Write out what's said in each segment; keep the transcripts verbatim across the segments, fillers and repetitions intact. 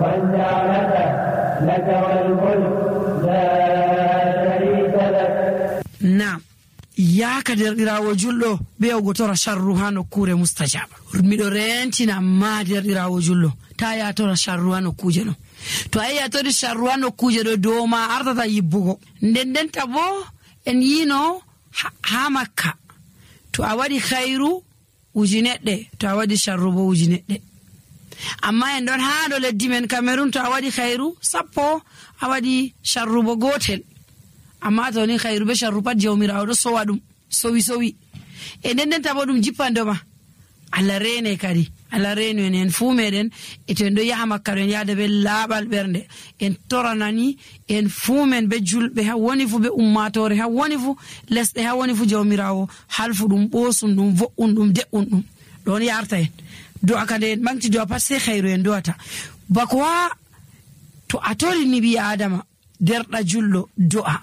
والنعمة لك والملك لا شريك لك. نعم ya ka derɗirawo julɗo be o gotora sharru ha nokkure mustajaba. Miɗo rentina ma derɗirawo julɗo ta yatora sharru ha nokkuje no. To a yatori sharru ha nokkuje ɗo dow ma ardata yibbugo. Nden denta bo en yino ha, ha Makka to a waɗi khairu uji neɗɗe, to a waɗi sharru bo uji neɗɗe. Amma en ɗon ha ɗo leddi men Cameroon to a waɗi khairu sappo a waɗi sharru bo gotel. Amma to ni khairu be sharru pat jawmirawo ɗo sowa ɗum sowi sowi e nden nden tabo ɗum jippandoma. Allah rene kadi Allah reno en en fu meɗen e to en ɗo yaha Makka en yahda be laaɓal ɓernde en toranani en fu men be julɓe ha woni fu be ummatore ha woni fu lesɗe ha woni fu jawmirawo halfu ɗum ɓosum ɗum vo'un ɗum de'un ɗum ɗon yarta en do'a kade en ɓanti do'a pat sai khairu en do'ata bako wa to a torini ɓi adama derɗa julɗo do'a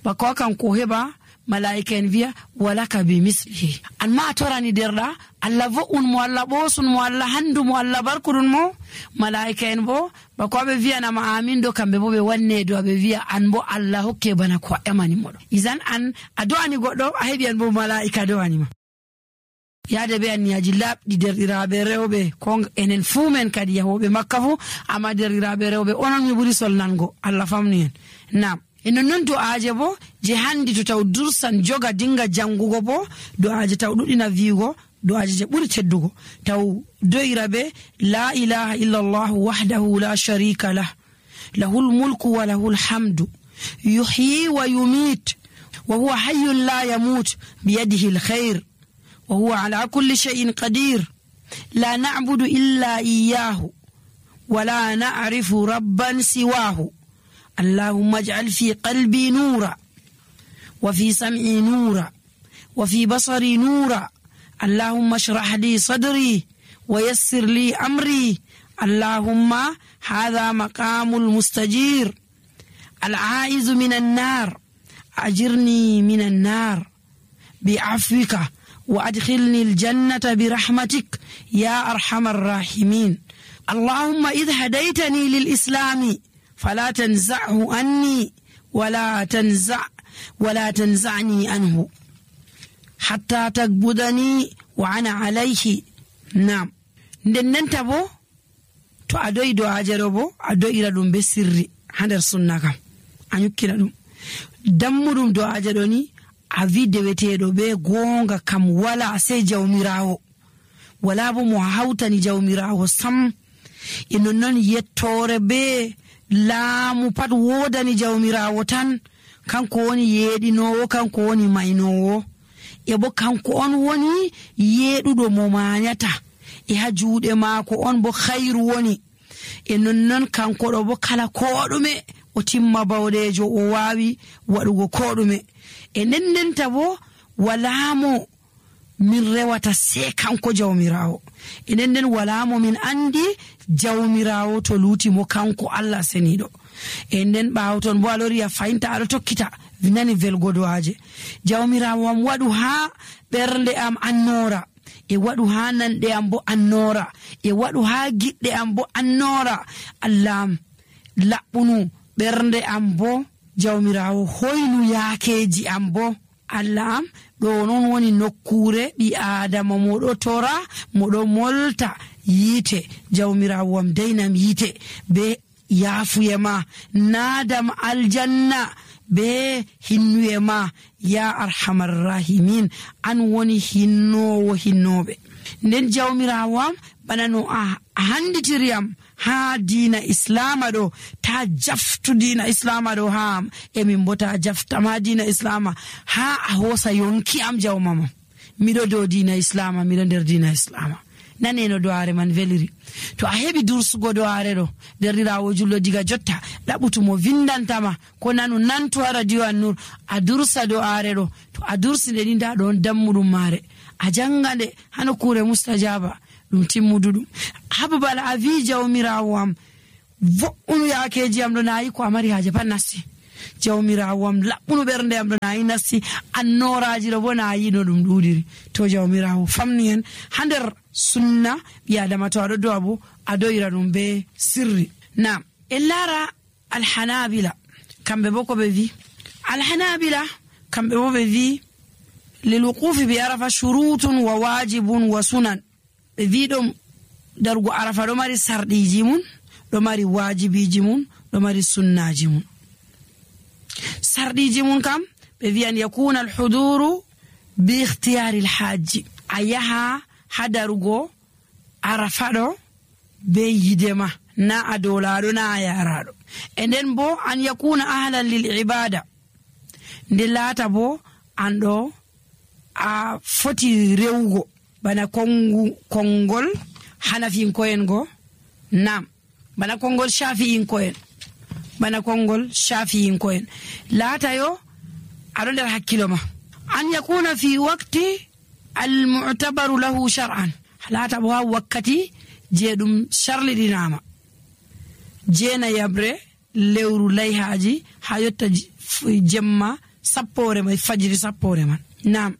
bako kan ko heba malaika en viya walaka bi mislihi anma a torani derɗa Allah vo'un mo Allah ɓosun mo Allah handu mo Allah barkudun mo malaika en bo bako ɓe viyanama amin do kamɓe bo ɓe wanne do ɓe viya an bo Allah hokke bana ko emani moɗo izan an a do'ani goɗɗo a heɓi an bo malaika do'anima yaade be anniyaji labɗi derɗiraɓe rewɓe ko enen fuu men kadi yahoɓe Makka fu amma derɗiraɓe rewɓe onon mi ɓuri solnango Allah famni en nam e nonnon do'aje bo je handi to taw dursan joga dinga jangugo bo do'aje taw ɗuɗina viugo do'aje je ɓuri teddugo taw do'ira be la ilaha illa Allah wahdahu la sharika lah lahul mulku wa lahul hamdu yuhyi wa yumit wa huwa hayyun la yamut biyadihi alkhair wa huwa ala kulli shay'in qadir la na'budu illa iyyahu wa la na'rifu rabban siwahu اللهم اجعل في قلبي نورا وفي سمعي نورا وفي بصري نورا اللهم اشرح لي صدري ويسر لي أمري اللهم هذا مقام المستجير العائز من النار أجرني من النار بعفوك وأدخلني الجنة برحمتك يا أرحم الراحمين اللهم إذ هديتني للإسلام فلا تنزعه عني ولا تنزع ولا تنزعني عنه حتى تقبضني وأنا عليه نعم nden tabo to adoyi do ajero bo adoyira dum be sirri hander sunna kam anyukkina dum dammudum do ajero ni a vide wetedo be gonga kam wala sai jawmirawo wala bo mo hawtani jawmirawo sam inon non yettore be laamu pat wodani jawmirawo tan kanko woni yeedinowo kanko woni maynowo e bo kanko on woni yeedudo mo maanyata e ha juude maako on bo khairu woni e nonnon kanko do bo kala kodume o timma bawdejo o waawi wadugo kodume e nendenta bo walamo min rewata se kanko jawmirawo e nenden walamo min andi jawmirawo to luti mo kanko Allah senido e nden bawton bo alori ya fainta ado tokkita vinani velgodoaje jawmirawo am wadu ha bernde am annora e wadu ha nande am bo annora e wadu ha gidde am bo annora Allah labbunu bernde am bo jawmirawo hoynu yaakeji am bo Allah am do non woni nokkure bi adama modo tora modo molta yite jawmirawo am daynam yite be yafuyema nadam aljanna be hinnuyema ya arhamar rahimin an woni hinnowo hinnobe nden jawmirawo am banano a handitiriyam ha dina islama do ta jaftu dina islama do ha e min bota jafta ma dina islama ha a hosa yonki am jawmama mido do dina islama mido der dina islama naneno doare man veliri to a hebi dursugo doare do derrirawo jullo diga jotta dabutumo vindantama ko nanu nantu radio annur a dursa doare do to a dursi de dinda don dammudum mare a jangande hano kure mustajaba dum timmududum hababal avi jawmirawo am vo'unu yaakeji am do nayi ko amari haje pan nasti jawmirawo am labbunu bernde am do nayi nasti annoraji do bona yi no dum dudiri to jawmirawo famni en hander sunna biadama to ado do abu adoira dum be sirri Naam, en laara alhanabila kamɓe bo ko ɓe wi alhanabila kamɓe bo ɓe wi lilwuqufi bi arafa shurutun wa wajibun wa sunan. ɓe wi ɗum darugo arafa ɗo mari sarɗiji mun, ɗo mari wajibiji mun, ɗo mari sunnaji mun. sarɗiji mun kam ɓe wi an yakuna alhuduru bi ikhtiyari alhaji, a yaha ha darugo arafa ɗo be yidema, na a dolaɗo na a yaraɗo. E nden bo an yakuna ahlan lil ibada, nde laata bo an ɗo a foti rewugo bana kongu kongol hanafinko'en go, nam bana kongol shafi'inko'en, bana kongol shafi'inko'en laata yo aɗo nder hakkilo ma. an yakuna fi waqti almu'tabaru lahu shar'an, laata bo ha wakkati je ɗum sharliɗinama, jeena yabre lewru layhaji ha yotta jemma sappore mai fajiri sappore man. Nam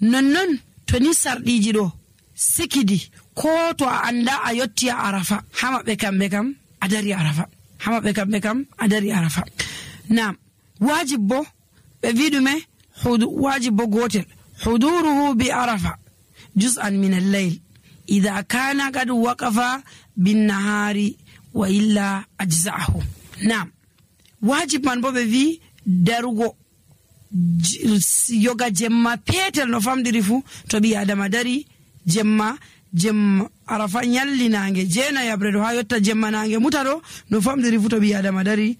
nonnon to ni sarɗiji ɗo sikidi ko to a anda a yotti a arafa, ha maɓɓe kamɓe kam a dari arafa, ha maɓɓe kamɓe kam a dari arafa. Nam wajib bo ɓe wi ɗume wajib bo gotel huduruhu bi arafa juz'an min al-layl idha kana qad waqafa bin nahari wa illa ajza'ahu. Nam wajib man bo ɓe wi darugo yoga jemma petel no famdiri fu, to ɓi adama dari jemma jemma arafa nyalli nange jeena yabre do ha yotta jemma nange muta do no famdiri fu, to ɓi adama dari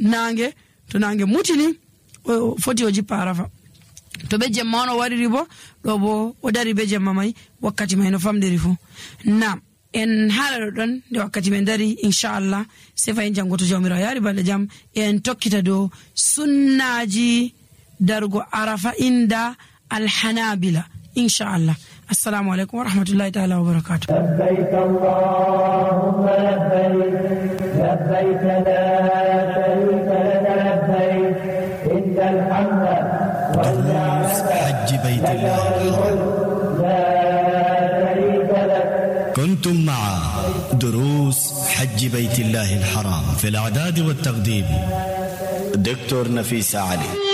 nange, to nange mutini o foti o jippa arafa. to be jemma no wariri bo do bo o dari be jemma mai wakkati mai no famdiri fu. Nam en haala don de wakkati men dari inshallah se fa en jangoto jawmira yari balde jam en tokkita do sunnaji dargo arafa inda alhanabila inshallah. Assalamu alaikum wa rahmatullahi ta'ala wa barakatuh. labbayk allahumma labbayk labbayk la sharika laka labbayk innal hamda wal ni'mata حج بيت الله la sharika lak. كنتم مع دروس حج بيت الله الحرام في الإعداد والتقديم دكتور نفيس علي.